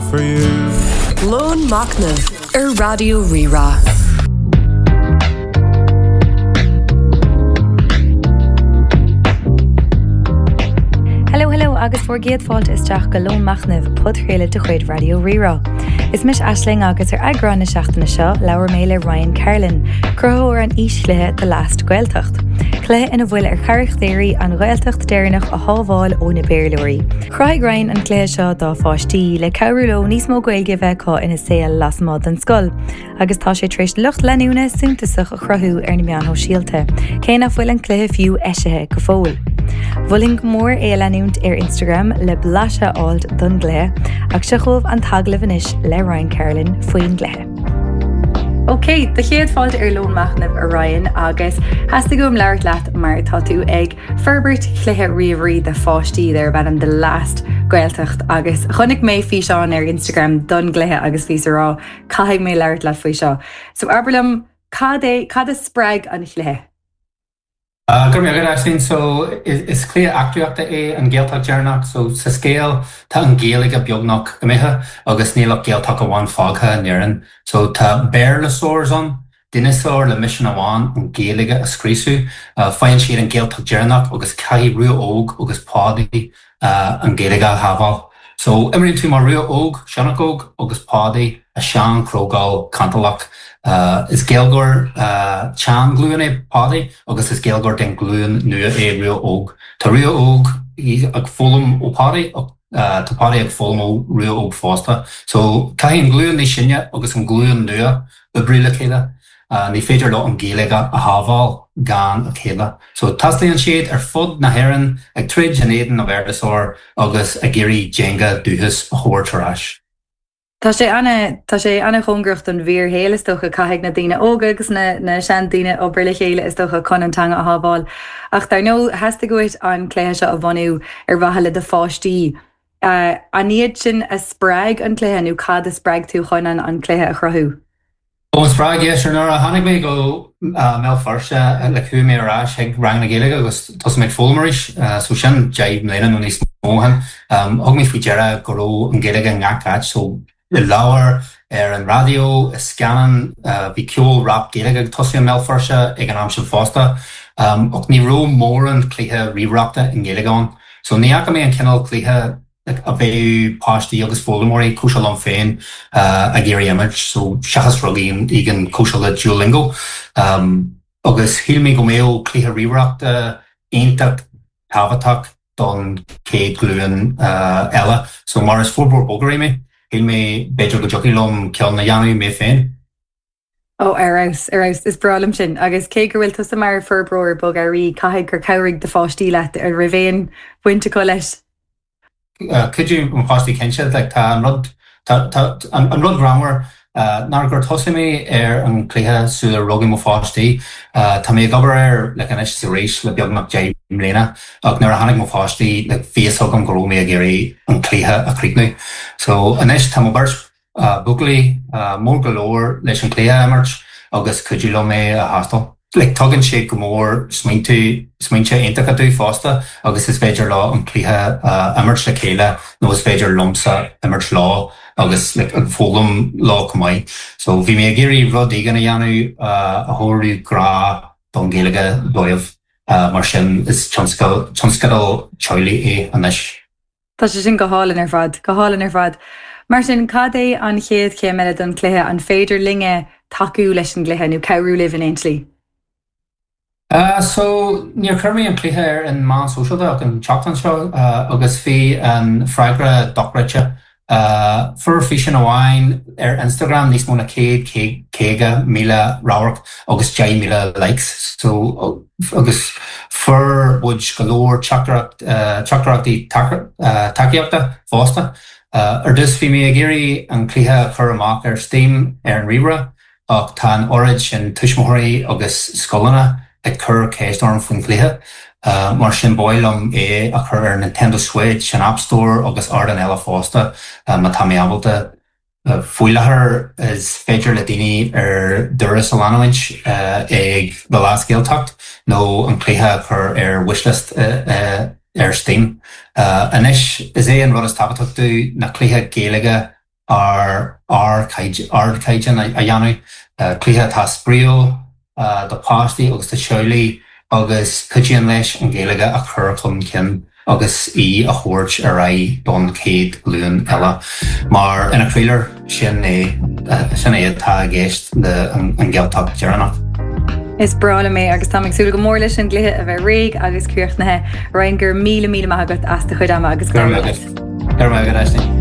For you. Lón Machnaimh ar Raidió Rí-Rá. Hello hello agus bhur gcéad fáilte isteach go Lón Machnaimh, podchraoladh de chuid Raidió Rí-Rá. Is mise Aisling agus ar eagrán na seachtaine seo labhair mé le Ryan Carlin, cruthaitheoir an fhíschluiche The Last Gaeltacht. Cluiche ina bhfuil ar charachtéirí an Ghaeltacht deireanach a shábháil ó na Béarlóirí. Chruthaigh Ryan an cluiche seo dá pháistí le cabhrú leo níos mó Gaeilge a bheith acu ina saol lasmuigh den scoil agus tá sé tar éis lucht leanúna suntasach a chruthú ar na meáin shóisialta, cé nach bhfuil an cluiche fiú eisithe go fóill. Mholfainn go mór é a leanúint ar Instagram le blaiseadh a fháilt don gcluiche, ach seo chugaibh an t-agallamh anois le Ryan Carlin faoin gcluiche. Ok, do chéad fáilte ar Lón Machnaimh a Ryan agus theastaigh uaim labhairt leat mar tá tú ag forbairt chluiche ríomhairí do pháistí darb ainm The Last Gaeltacht agus chonaic mé físeán ar Instagram don gcluiche agus bhíos ag rá caithfidh mé labhairt leat faoi seo. So abair liom cad é, cad a spreag an chluiche? Go raibh maith agat Aisling. So is cluiche eachtraíochta é an Ghaeltacht Dheireanach. So sa scéal tá an Ghaeilge beagnach imithe agus níl ach Gaeltacht amháin fágtha in Éirinn. So tá Béarlasaurs ann Dineasáir le misean amháin, an Ghaeilge a scriosadh. Faigheann siad an Ghaeltacht dheireanach agus caithfidh Rua Óg agus Pádaí an Ghaeilge a shábháil. So, imríonn tú mar Rua Óg, sionnach óg, agus Pádaí, a sean-chrogall cantalach. Is Gaeilgeoir tsean-ghlúin é Pádaí agus is Gaeilgeoir den ghlúin nua é Rua Óg. Tá Rua Óg ag foghlaim ó Phádaí ach tá Pádaí ag foghlaim ó Rua Óg fosta. So, caithfidh an ghlúin níos sine agus an ghlúin nua oibriú le chéile. Ní féidir leo an Ghaeilge a shábháil gan a chéile. So taistealaíonn siad ar fud na hÉireann ag troid in éadan na Bhéarlasaur agus ag iarraidh dteanga dúchais a thabhairt ar ais. Tá sé ana, tá sé ana-chóngarach don bhfíorshaol is dócha. Caithfidh na daoine óga agus na, na seandaoine obair le chéile is dócha chun an teanga a shábháil. Ach dar ndóigh, theastaigh uait an cluiche seo a bhunú ar mhaithe le do pháistí. An iad sin a spreag an cluiche nó cad a spreag tú chun an an cluiche a chruthú? Ó an spreag, yeah, sure nuair a tháinig mé go mBéal Feirste like chuaigh mé ar ais chuig rang na Gaeilge agus thosaigh mé ag foghlaim arís so sin 10 mbliana nó níos mó ó shin. Thug mé faoi deara go raibh an Ghaeilge i ngach áit so i leabhair, ar an raidió, i scannáin, bhí ceol rap Gaeilge ag tosú i mBéal Feirste ag an am sin fosta. Ach ní raibh mórán cluiche ríomhaireachta i nGaeilge ann. So ní fhaca mé an cineál cluiche a bheadh páistí agus foghlaimeoirí cosúil liom féin ag iarraidh imirt, so seachas rud éigin cosúil le Duolingo. Agus shíl mé go mbeadh cluiche ríomhaireachta iontach tábhachtach don chéad ghlúin eile. So mar is forbróir bogearraí mé, shíl mé b'fhéidir go dtiocfadh liom ceann a dhéanamh mé féin. Ó, ar fheabhas, ar fheabhas, is breá liom sin. Agus cé go bhfuil tusa mar forbróir bogearraí, caithfidh gur chabhraigh do pháistí leat, an raibh aon bhaint acu leis? Chuidigh mo pháistí cinnte, like tá an rud, tá, tá, an rud greannmhar ná gur thosaigh mé ar an chluiche sular rugadh mo pháistí. Tá mé ag obair air like anois is arís le beagnach 10 mbliana ach nuair a tháinig mo pháistí like bhí fhios agam go raibh mé ag iarraidh an cluiche a chríochnú. So anois tá mo bheirt buachaillí mór go leor leis an chluiche a imirt agus cuidiú liom é a thástáil. Like tugann sé go mór smaointe smaointe iontacha domh fosta agus is féidir leo an cluiche a imirt le chéile nó is féidir liomsa imirt leo agus like ag foghlaim leo chomh maith. So bhí mé ag iarraidh rud éigin a dhéanamh a thabharfadh grá don Ghaeilge dóibh mar sin is tionscadal tionscadal teaghlaigh é anois. Tá sé sin go hálainn ar fad, go hálainn ar fad. Mar sin, cad é an chéad chéim eile don chluiche? An féidir linne tacú leis an gcluiche nó cabhrú libh in aon tslí? So, níor chuir mé an cluiche ar an meán sóisialta ach an tseachtain seo agus bhí an freagra dochreidte. Fuair físeán amháin ar Instagram níos mó ná 150,000 radharc agus 10,000 likes so agus fuair muid go leor teachtaireachtaí tacaíochta fosta. Ar dtús bhí mé ag iarraidh an cluiche a chur amach ar Steam ar an ríomhaire Ach tá an oiread sin tuismitheoirí agus scoileanna ag cur ceist orm faoin chluiche, mar sin ba mhaith liom é a chur ar Nintendo Switch, an App Store agus ardáin eile fosta má tá mé ábalta. Faoi láthair is féidir le daoine ar dturas a leanúint ag The Last Gaeltacht nó an cluiche a chur ar wishlist ar Steam. Anois is é an rud is tábhachtach domh ná cluiche Gaeilge. Ar ardchaighdeán a dhéanamh, cluiche atá spraíúil do pháistí agus do theaghlaigh agus cuidíonn leis an Ghaeilge a chur chun cinn agus í a thabhairt ar aghaidh don chéad ghlúin eile. Mar ina chroílár, sin é sin é atá i gceist le an Ghaeltacht dheireanach. Is breá liom é agus táim ag súil go mór leis an gcluiche a bheith réidh agus críochnaithe. Ryan, go raibh míle míle maith agat as do chuid ama agus go raibh maith agat. Go raibh maith agat, Aisling.